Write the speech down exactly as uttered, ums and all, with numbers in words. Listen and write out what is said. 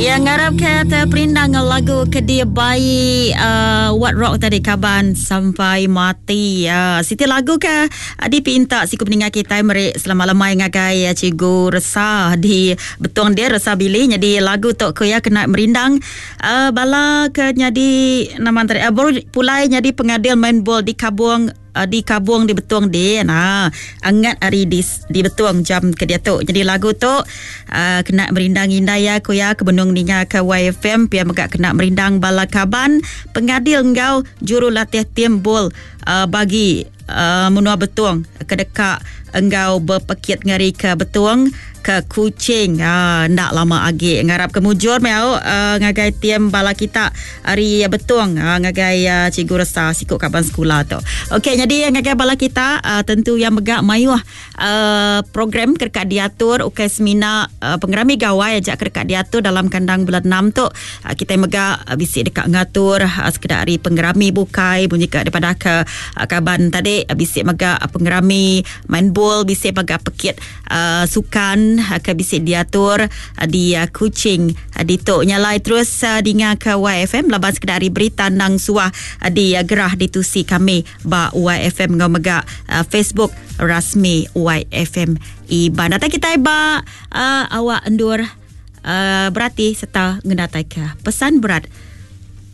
Yang ngarap ke terperindang lagu ke dia bayi uh, What Rock tadi kaban sampai mati. Uh, siti lagu ke uh, dipinta siku peninggal kita meri selamat lemai ngagai uh, Cikgu Resa di Betong dia Resa Billy. Jadi lagu tok ku ya kena merindang uh, bala ke jadi nama antara uh, baru pulai jadi pengadil main bol di Kabung uh, di Kabung di Betong dia. Nah, angat hari di di Betong jam ke dia tu. Jadi lagu tu uh, kena merindang indai ya ku ya ke benung ninga ke Y F M pia megak kena merindang bala kaban pengadil ngau jurulatih tim bol uh, bagi uh, menua Betong kedekak engau berpekit ngari ke Betong ke Kuching. Ah, ndak lama agi ngarap ke mujur mau uh, ngagai tim bala kita hari Betong uh, ngagai uh, Cikgu Resa sikuk kaban sekolah tu. Okey, jadi ngagai bala kita uh, tentu yang megak mayuh uh, program kerkat diatur ukai semina uh, pengerami gawai ajak kerkat diatur dalam kandang bulan enam tu. Uh, kita megak uh, bisik dekat ngatur uh, sekedar hari pengerami bukai bunyi ke daripada ke uh, kaban tadi uh, bisik megak uh, pengerami main bol bisik megak pekit uh, sukan ke bisik diatur di Kuching di tok nyalai terus dengar ke Y F M laban sekedar hari berita nang suah di gerah ditusi kami ba Y F M ngau megak Facebook rasmi Y F M Iban. Datang kita ba uh, awak endur uh, berarti serta ngenatai ke pesan berat